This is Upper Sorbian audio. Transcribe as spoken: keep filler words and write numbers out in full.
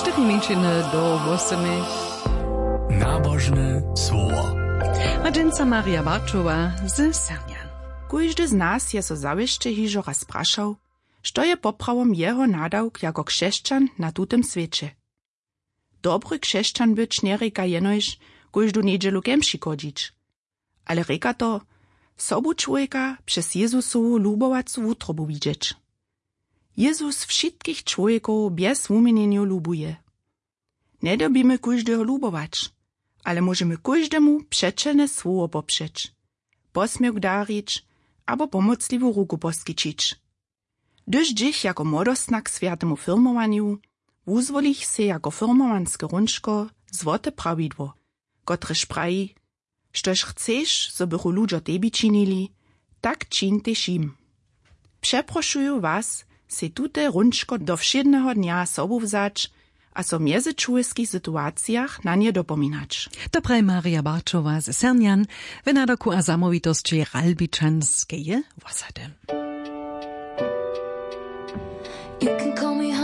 Štyrimińšiny do wósymich. Nabožne słowo. A dźensa Marja Barčowa z Sernjan. Kóždy z nas je so zawěsće hižo raz prašał, što je poprawom jeho nadawk jako křesćan na tutym swěće. Dobry křesćan być njerěka jenož kóždu njedźelu kemši chodźić, ale rěka to, sobu čłowjeka přez Jezusowu lubowacu wutrobu widźeć. Jezus wšitkich čłowjekow bjez wuměnjenjow lubuje. Njedyrbimy kóždeho lubować, ale móžemy kóždemu přećelne słowo popřeć, posměwk darić abo pomocliwu ruku poskićić. Hdyž dźěch jako młodostna k swjatemu firmowanju, wuzwolich sej jako firmowanske hrónčko złote prawidło, kotrež praji: „Štož chceš, zo bychu ludźo tebi činili, tak čiń tež jim.“ Přeprošuju was, sej tute hrónčko do wšědneho dnja sobu wzać a so w mjezyčłowjeskich situacijach na nje dopominać. To praji Marja Barčowa z Sernjan w nadawku a zamołwitosći Ralbičanskeje wosady. You can call me